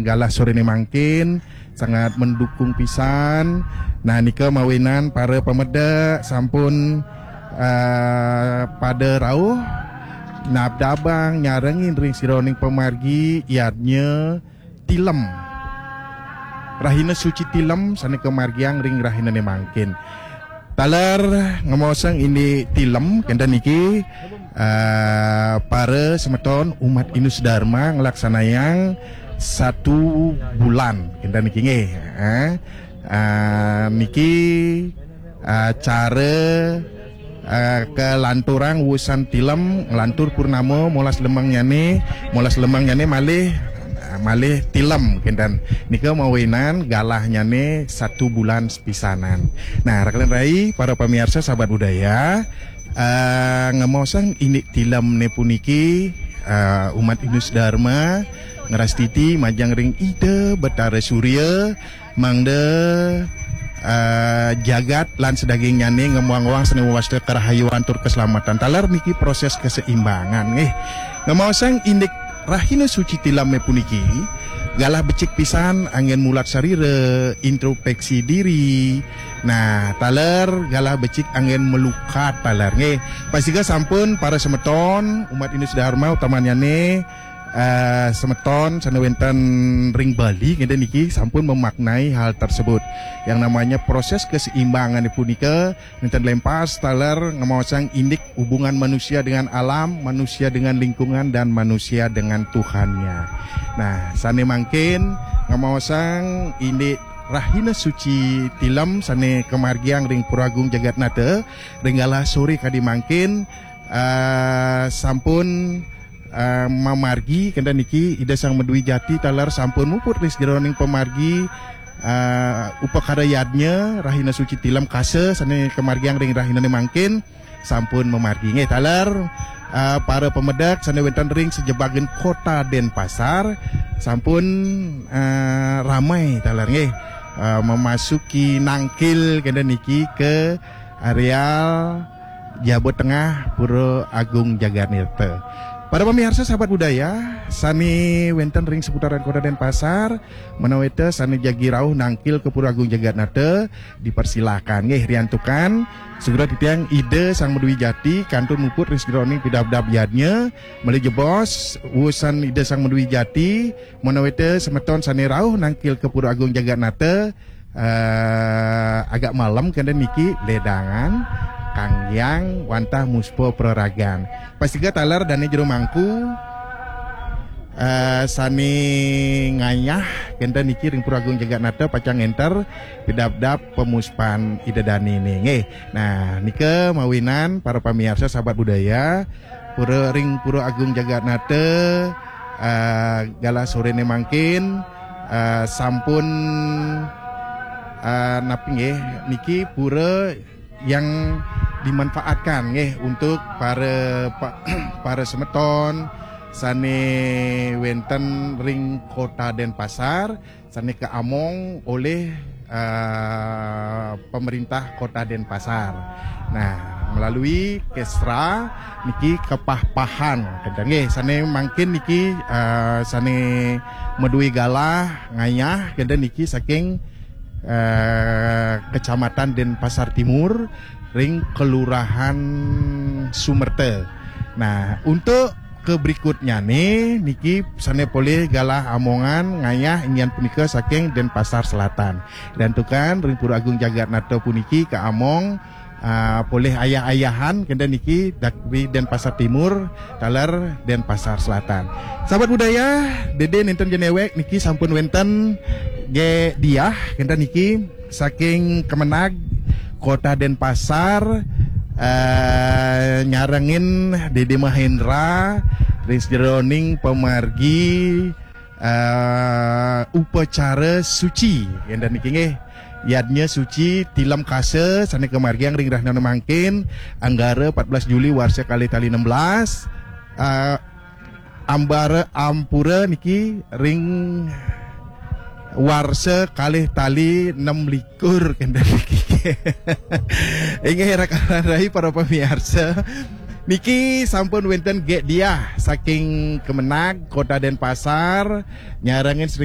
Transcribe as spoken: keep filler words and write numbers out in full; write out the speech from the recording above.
galah sorene mangkin sangat mendukung pisan. Nah, nika mawinan para pamedek sampun eh, pada rauh nabdabang nyarengin ring sajeroning pamargi yadnya tilem. Rahina suci tilem sane kamargiang ring rahinane mangkin. Taler ngemaosang indik tilem kenten niki, eh, para semeton umat Indus Dharma ngelaksanayang satu bulan kenten niki nggih, eh. Eh, niki eh, cara eh, kalanturang wusan tilem, nglantur purnama, molas lemengnyane, molas lemengnyane malih eh, malih tilem kenten. Nika mawinan galahnyane satu bulan sepisanan. Nah, rakan rai, para pamiarsa sahabat budaya, eh, ngemaosang indik tilemne puniki, eh, umat Indus Dharma ngrastiti majeng ring Ida Betara Surya mangda eh, jagat lan sadagingnyane ngemwang-wang sane wasta karahayuan tur keselamatan. Taler niki proses keseimbangan nggih. Ngemaosang indik rahina suci tileme puniki galah becik pisan anggen mulat sarira, introspeksi diri. Nah, taler galah becik anggen melukat taler nggih. Pastika sampun para semeton umat Indus Dharma utamanyane eh, semeton sane wenten ring Bali ngenten niki sampun memaknai hal tersebut. Yang namanya proses keseimbangan punika nenten lempas taler ngemaosang indik hubungan manusia dengan alam, manusia dengan lingkungan, dan manusia dengan Tuhannya. Nah, sane mangkin ngemaosang indik rahina suci tilem sane kamargiang ring Pura Agung Jagatnata ring galah sore kadi mangkin, eh, sampun eh, mamargi kenten niki Ida Sang Madwi Jati taler sampun muput ring sajeroning pamargi eh, upakara yadnya rahina suci tilem kasa sane kamargiang ring rahinane mangkin sampun mamargi nggih taler eh, para pamedek sane wenten ring sajebagan kota Denpasar sampun eh, ramai taler nggih eh, memasuki nangkil kenten niki ke areal Jaba Tengah Pura Agung Jagatnata. Para pamiarsa sahabat budaya sane wenten ring seputaran Kota Denpasar, menawi te sane jagi rauh nangkil ke Pura Agung Jagatnata, dipersilakan nggih riantukan. Segera titiang Ida Sang Madwi Jati kantun muput ring sajeroning pidabdab yadnya, malih jebos wusan Ida Sang Madwi Jati, menawi te semeton sane rauh nangkil ke Pura Agung Jagatnata, eh, agak malem kenten niki ledangan, kanggiang wantah muspa praragan. Pastika taler dane jero mangku eh, sane ngayah kenten niki ring Pura Agung Jagatnata pacang ngenter pidabdab pemuspan Ida Dane nggih. Nah, nika mawinan para pamiarsa sahabat budaya Pura ring Pura Agung Jagatnata eh, galah sorene mangkin eh, sampun eh, napi nggih niki pura yang dimanfaatkan nggih untuk para pa- para semeton sane wenten ring Kota Denpasar sane kaamong oleh eh, pemerintah Kota Denpasar. Nah, melalui Kesra niki kepah-pahan kenten nggih sane mangkin niki eh, sane madue galah ngayah kenten niki saking eh, Kecamatan Denpasar Timur ring Kelurahan Sumerta. Nah, untuk ke berikutnyane niki sane polih galah amongan ngayah inggih punika saking Denpasar Selatan. Riantukan ring Pura Agung Jagatnata puniki kaamong ah, polih ayah-ayahan kenten niki dak- ri Denpasar Timur taler Denpasar Selatan. Sahabat budaya, dede nenten jenewek niki sampun wenten ge diah kenten niki saking Kemenag Kota Denpasar eh, nyarengin Dede Mahendra ring sajeroning pamargi eh, upacara suci kenten niki nggih. Yadnya suci tilem kasa sane kamargiang ring rahina mangkin Anggara empat belas Juli warsa kalih tali enam belas eh, ambara ampura niki ring warsa kalih tali enam likur kenten niki. Inggih rakan rai para pamiarsa. Niki sampun wenten ge diah saking Kemenag Kota Denpasar nyarengin sering